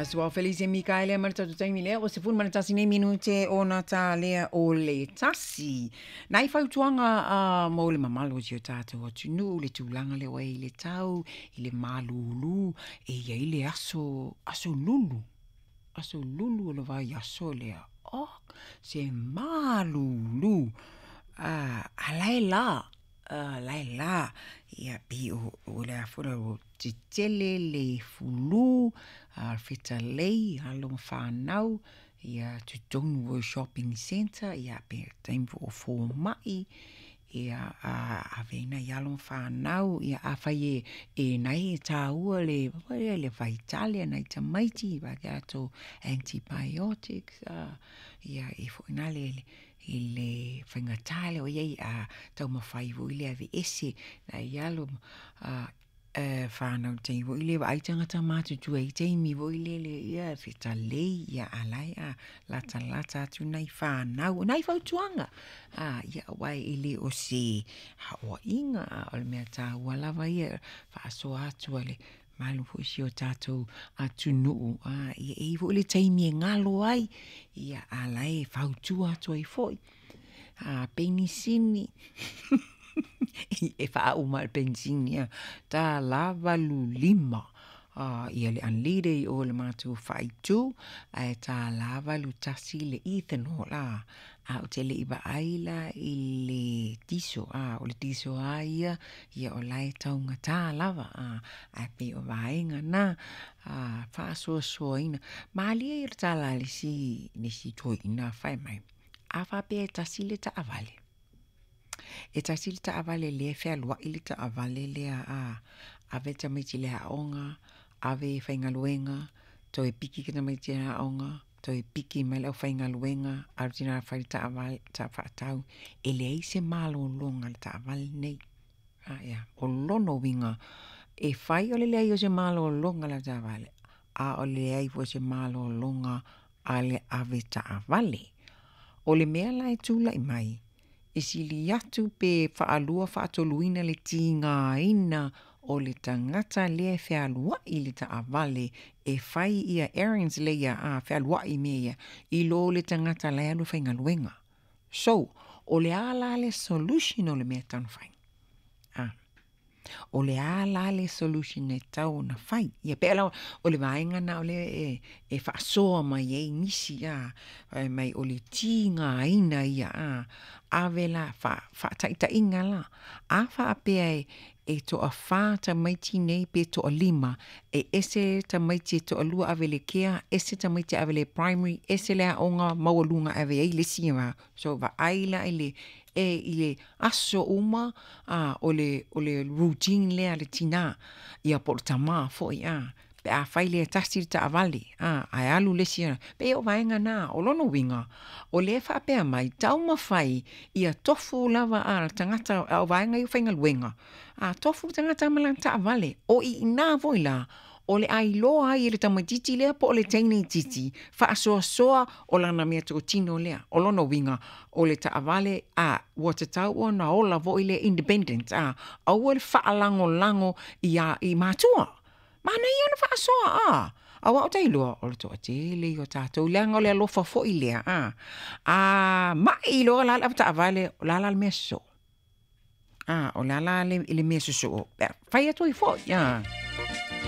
Aso Ao Felice Mikaele ma le tatou taimi lea ua 11 nei minute ona tālea o le tasi. Nai fautuaga uh, mo le mamalu o si o tātou atunuu, le tulaga lea ua i le tau, i le malūlū, e i ai le aso, aso lulu, aso lulu o le vaiaso lea. Oh, se malūlū. Uh, a la e la, uh, la e la, ia pei o, o le a foi la, o tetele le fulu, a fetalei, alo ma whanau, ia totonu o shopping centre, ia pe taimi foi o fōma'i, ia a ave ai nai alo ma whanau, ia afai e e nai e tāua le le faitale a nai tamaiti, a latou antibiotics, a ia e foi na le i le faigata lea o i ai a taumafai foi le aveese nai alo a whanau taimi foi le vaai tagata matutua i taimi foi lele ia fetalei ia a la e a latalata atu nai whanau nai fautuaga a ia aua e le o se haoaiga a o le mea taua lava ia faasoa atu a le malu foi si o tatou atunuu a ia e i ai foi le taimi e galo ai ia a la e fautua atu ai foi a penisini e faauma le penisini a $1.85 a ia le unleaded i o le matou faaitu ae $1.81 le ethanol a a ou te le i vaai la i le diesel a o le diesel lava ia ia o la e taugata lava a ae pei o vaega na a faasoasoaina malie ia le tala a le isi le isi toeaina fai mai a faapea e tasi le taavale E tasi le taavale lea e fealuai le taavale lea a ave tamaiti i le aoga, ave e faigaluega, toe piki tamaiti i le aoga, toe piki mai le aufaigaluega, alu tina e fai le taavale, faatau. E leai se malologa a le taavale lenei. O lona uiga, e fai o le leai o se malologa a le avetaavale, a o le leai foi o se malologa a le avetaavale. O le mea la e tulai mai, e sili atu pe faalua faatoluina le tigaina o le tagata lea e fealuai i le taavale e fai ia errands lea a fealuai i mea ia, i lo le tagata la e alu e faigaluega. So, o le a la le solution o le mea e tatau ona fai? A. O le a la le solution e tatau ona fai? Ia pei la o le vaega lena o lea e, e faasoa mai ai nisi a, fai mai o le tigaina ia a, ave la fa, faataitaiga la, a faapea e, e toawhā tamaiti nei pe toalima, e ese tamaiti e toalua ave i le care, ese tamaiti ave i le primary, ese le aoga maualuga ave ai le isi ma, so vaai la i le, e i le aso uma a o le, o le routine lea a le tinā, ia po o le tamā foi a, pe a fai lea e tasi le taavale a, ae alu le isi, pei o vaega na, o lona uiga, o lea e faapea mai, taumafai ia tofu lava a le tagata, a o vaega ia o faigaluega, a tofu le tagata ma lana taavale, o i ina foi la, o le a iloa ai e le tamaitiiti lea po o le teine itiiti, faasoasoa o lana meatotino lea. O lona uiga, o le taavale, a, ua tatau ona ola foi le independent, a, aua le faalagolago i a, i matua. Manaia ona faasoa, a, aua ou te iloa, o le toatele ia o tatou, leaga o le alofa foi lea, a, a mai loa la le avetaavale, o le a la le mea sosoo? A, o le a la le, le mea sosoo? Pe a fai atu ai foi, a.